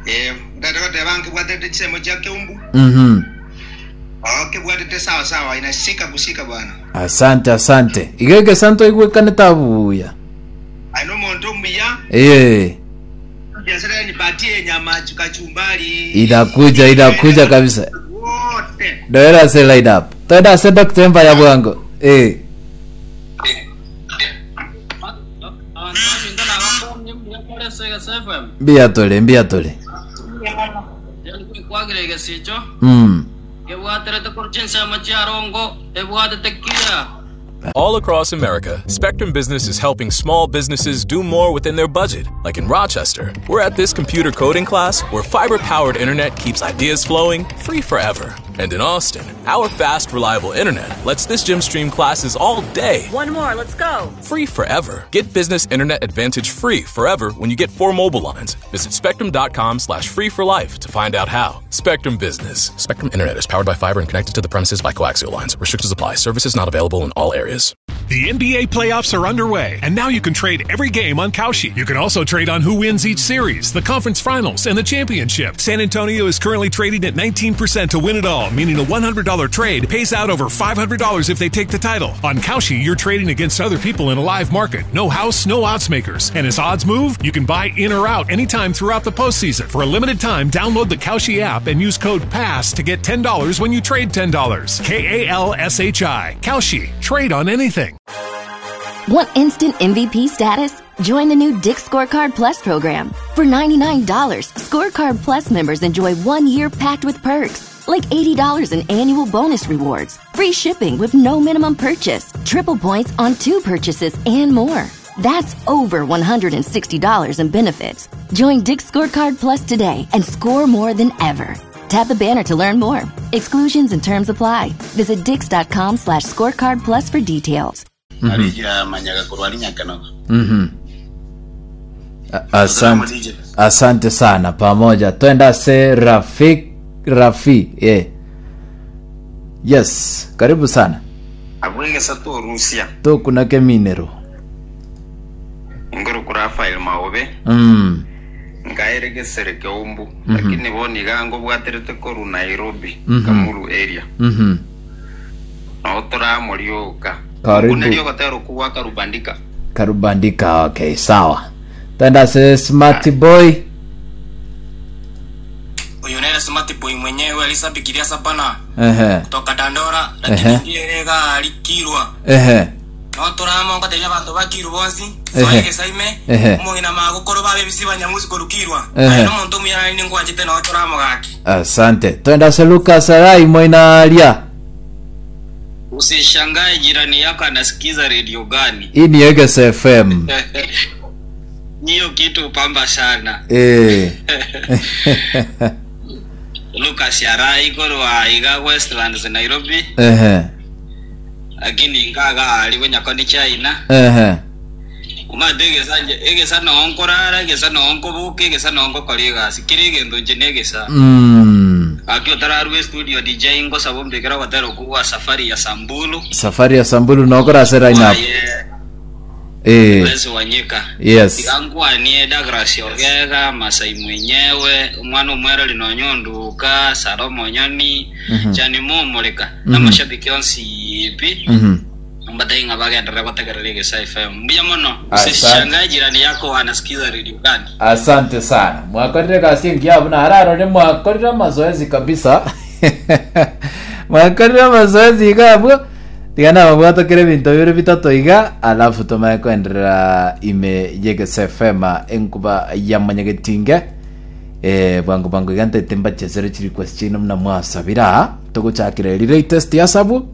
Eh, ntagete goteba nkebwatete chisemo chia Keumbu. Mhm. Oo, kebwatete sawa sawa, inashika kushika bwana. Asante asante. Iga egesa ntoigwekanete abuya. Aye nomonto omuya. Eh. Biashara nipatie nyama kachumbari. Inakuja inakuja kabisa. Wote. Doera ase line up. Toenda ase Dr. Empire bwango. Eh. Abanto baminto nabakonye mbuya more ase Egesa FM. Mbuya tore, mbuya tore. Nkwagire egesicho Mm. kebwaterete korwa chinsemo chia rongo ebwatete clear. All across America, Spectrum Business is helping small businesses do more within their budget. Like in Rochester, we're at this computer coding class where fiber powered internet keeps ideas flowing free forever. And in Austin, our fast, reliable internet lets this gym stream classes all day. One more, let's go. Free forever. Get business internet advantage free forever when you get four mobile lines. Visit spectrum.com slash free for life to find out how. Spectrum Business. Spectrum Internet is powered by fiber and connected to the premises by coaxial lines. Restrictions apply. Services not available in all areas. The NBA playoffs are underway, and now you can trade every game on Kalshi. You can also trade on who wins each series, the conference finals, and the championship. San Antonio is currently trading at 19% to win it all, meaning a $100 trade pays out over $500 if they take the title. On Kalshi, you're trading against other people in a live market. No house, no odds makers. And as odds move, you can buy in or out anytime throughout the postseason. For a limited time, download the Kalshi app and use code PASS to get $10 when you trade $10. K A L S H I. Kalshi. Trade on anything. Want instant MVP status? Join the new Dick Scorecard Plus program. For $99, Scorecard Plus members enjoy one year packed with perks, like $80 in annual bonus rewards, free shipping with no minimum purchase, triple points on two purchases, and more. That's over $160 in benefits. Join Dick Scorecard Plus today and score more than ever. Tap the banner to learn more. Exclusions and terms apply. Visit dix.com slash scorecard plus for details. Arija manyaga korwa ari Nyakenogo. Mhm. A- Asante. Asante sana pamoja. Twenda se Rafik Rafi. Yeah. Yes, karibu sana. Abwo egesa torusia. Tokunake minero. Ngoro kura file maobe. Nkaere gesere keumbu. Lakini bono iga ngobwaterete korwa Nairobi, Kamulu area. Nao toramorioka. Karibu. Nkuneri ogotera okwo gwa Karubandika. Karubandika, okay, sawa. Twenda se Smart Boy. Uyu nere smart boy mwenyewe alisabikiria sabana Ehe. kutoka Dandora Ehe. lakini ndiye gari kirwa Ehe. no toramo ngatebia abanto bakirwa bonsi Ehe. soa egesaime Ehe. omong'ina magokoro babe bisi banyamusi korukirwa Ehe. aye nomonto omuya nari ningwanchete no toramo gaki Asante. Twenda se Lucas Arai Moinaria. Usishangae jirani yako anasikiza redio gani. Hii ni Egesa FM. Hiyo kitu pamba sana. Eh. Lucas Arai korwa iga Westlands Nairobi, Ehe. lakini ngaga ali wenyakoni China. Ehe. Omanyete egesa nje egesa noo nkorara egesa noo nkoboka egesa noo ngokora egasi kera egento nche na egesa Gaki otararwa estudio DJ ngosaba ombekere ogotera okwo gwa safari ya Samburu Safari ya Samburu nokora ase line up. Waye Eh. Bless Wanyika Yes. Tiga nkwanie Douglas Ogega Masai mwenyewe omwana omwereri nonya onduka Sara Omonyoni Jani Momoreka na amashabiki onsi pi mbatai ng'a bagenderere gotegerera Egesa FM mbuya mono Asante. usishangae jirani yako anasikiza radio gani Asante sana. Mwakorire gasi engiya buna ararore mwakorire amazoezi kabisa. mwakorire amazoezi iga abwo. Tiga nababwatokere ebinto bibere bitato iga alafu tomanye koenderera ime y'Egesa FM enkuba ya manyagetinge. Eh, bwango bwango iga ntaete mbachesere chi request chiaino buna mwasabira. Togochakera eri latest ya sabu.